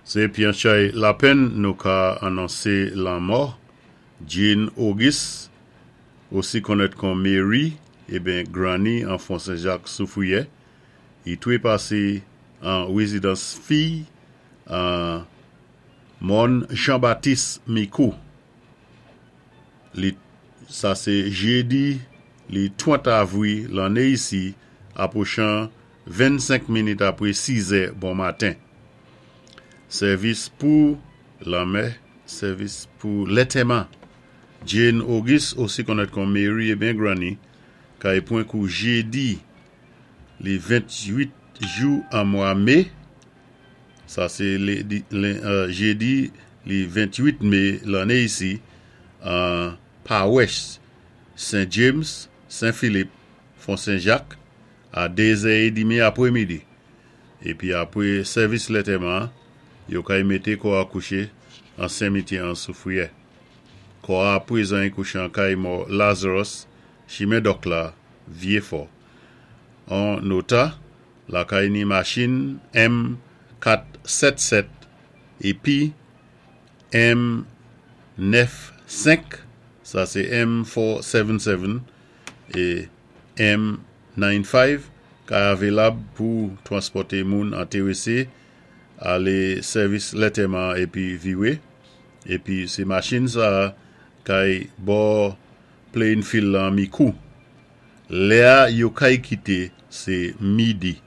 Sé byen chay lapenn nou ka anonsé lanmò Jean Auguste, osi konnèt kon Mary, eben Granny an Fon Sen-Jak Soufwiyè. I twé pasé an wézidans fiy an Mòn Jean-Baptiste Mikou. Li sa sé jédi li 30 avwi lanné isi apwochan 25 minit apwé 6 è bon maten. Sèvis pou lanmè, sèvis pou lantèman. Jane Auguste, osi konnèt kon Mary eben Granny, kay pwan kou jédi li 28 jou an mwa mé, sa sé jédi li 28 mé lanné isi, an pawès Saint James, Saint Philippe, Fon Sen-Jak, a 2 zè édmi apwémidi. Épi apwé sèvis lantèman, yo kay mété kò a kouché an simityè an Soufwiyè. Kò a pwézan kouché an kay mò Lazarus, chimen Dòk la, Vyéfò. An nota, lakay ni machin M477 épi M95, sa sé M477 é M95 kay avilab pou twanspòté moun entèwésé alé sèvis lantèman épi viwé. Épi sé machin sa kay bò playing field lan Mikou. Lè a yo kay kité sé midi.